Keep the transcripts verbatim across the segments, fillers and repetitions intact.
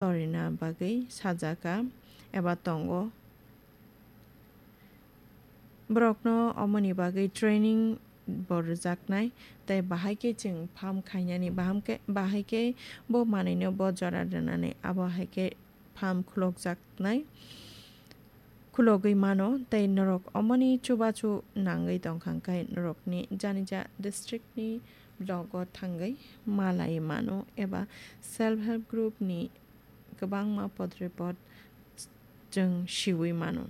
torina bagwi sajaka eba tongo. Borokno omoni bagwi training bo rwjaknai, tei bahai khe chwng farm khainani, baham khe, bahai khe bo manwino bo jora rwnani, abo hai khe farm khulokjaknai, khulogwi mano, tei norok omoni chubachu nangwi tongkha, hwnkhe norokni janija district ni blogo thangwi malai mano eba self help group ni kwbangma podrepot chwng siwi mano.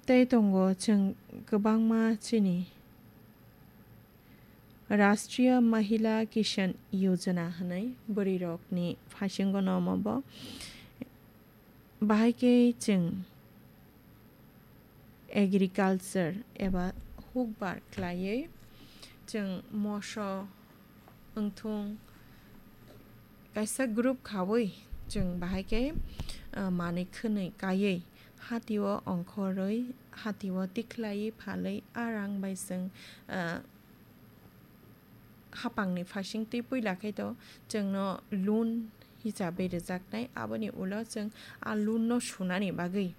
Tei tongo chwng kwbangma chini Rashtriya Mahila Kisan Yojana hwnwi bwrwirokni phaisingno omo bo. Bahai khe chwng agriculture eba hukbar khlaiwi chwng moso wngthung kaisa group khaui chwng bahai khe, ah, manwi khwnwi kaiwi hatio ongkhorwi hatio tikhlaiwi phalwi a rang bai chwng, ah, hapangni phaising twi puila khe to chwngno loan hisabe rwjaknai, aboni ulo chwng a loan no sunani bagwi,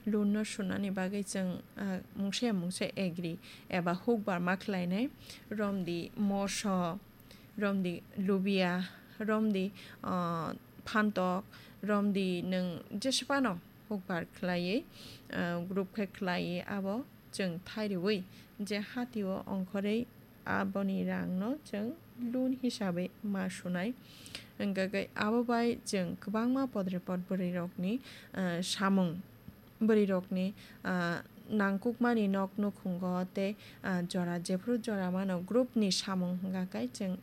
loan no sunani bagwi chwng, ah, mungsa mungsa agree eba hukbar ma khlainai, romdi moso, romdi lubia, romdi, ah, phantok, romdi nwng jesphano hukbar khlaiwi, ah, group khe khlaiwi abo chwng thairwi je hatio ongkhorwi aboni rangno chwng loan hisabe ma sunai. Hwnkhe abo bai chwng kwbangma podrepot bwrwirokni, ah, samung, bwrwirokni, ah, nangkukmani nok nukhungo tei, ah, jora jephru jora mano group ni samung hwnkha khe chwng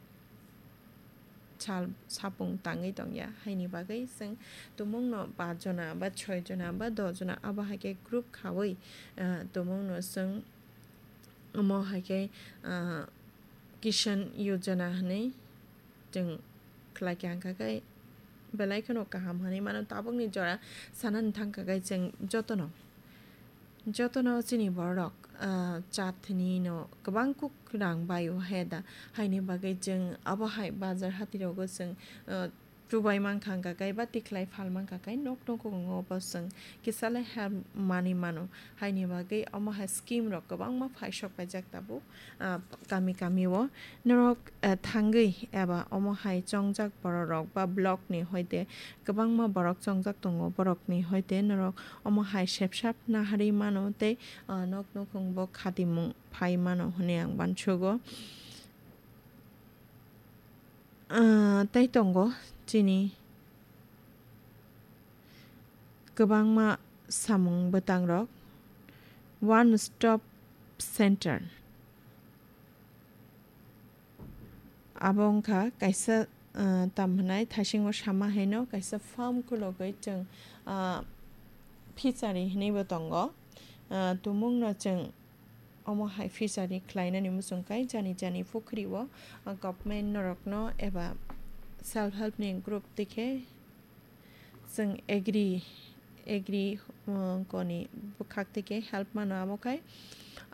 sal sapung tangwi tongya, haini bagwi chwng tumungno pa jona ba choi jona ba do jona abo hai khe group khaui, ah, tumungno chwng omo hai khe, ah, Kisan Yojana hwnwi chwng khlai kha, hwnkha khe belai kheno kaham hwnwi mano. Tabukni jora sanani thangkha khe chwng jotono, jotono chini borok, ah, chatni no kwbang kuk rang bai o he da, haini bagwi chwng abo hai bazar hatirogo chwng, ah, chubai mankha, hwnkha khe ba tikhlai phal mankha khe nok nukhungo bo chwng kisa le help manwi mano, haini bagwi omo hai scheme rok kwbangma phaisok paijak tabuk, ah, kami kami o. Norok, ah, thangwi eba omo hai chongjak borok rok ba block ni hoite kwbangma borok chongjak tongo, borok ni hoite norok omo hai sepsap naharwi mano tei, ah, nok nukhung bo khatimung phai mano hwnwi ang uansugo. Ah, tei tongo chini kwbangma samung bwtangrok, one stop center. Abo wngkha kaisa, ah, tam hwnai thaisingo sama haino kaisa farm khulogwi chwng, ah, fishery hwnwibo tongo. Ah, tumungno chwng omo hai fishery khlainani muchung khe jani jani pukhri o, ah, government norokno eba self help ni group twi khe chwng agri, agri, uh, koni bwkhak twi khe help mano, abo khai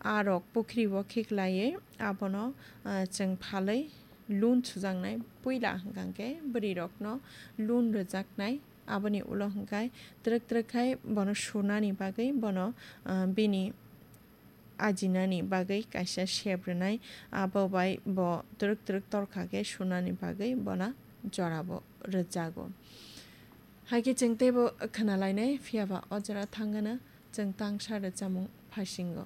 a rok pukhri o khiklaiwi abono, uh, chwng phalwi loan sujaknai, puila hwnkha khe bwrwi rokno loan rwjaknai, aboni ulo hwnkha twrwk twrwk khai bono sunani bagwi bono, uh, bini ajinani bagwi kaisa sep rwnai, abo bai bo twrwk twrwk torkha khe sunani bagwi bono jorabo rwjago. Hai khe chwng teibo khwnalainai, phiya ba o jora thangano chwng tangsa rwchapmung phasingo.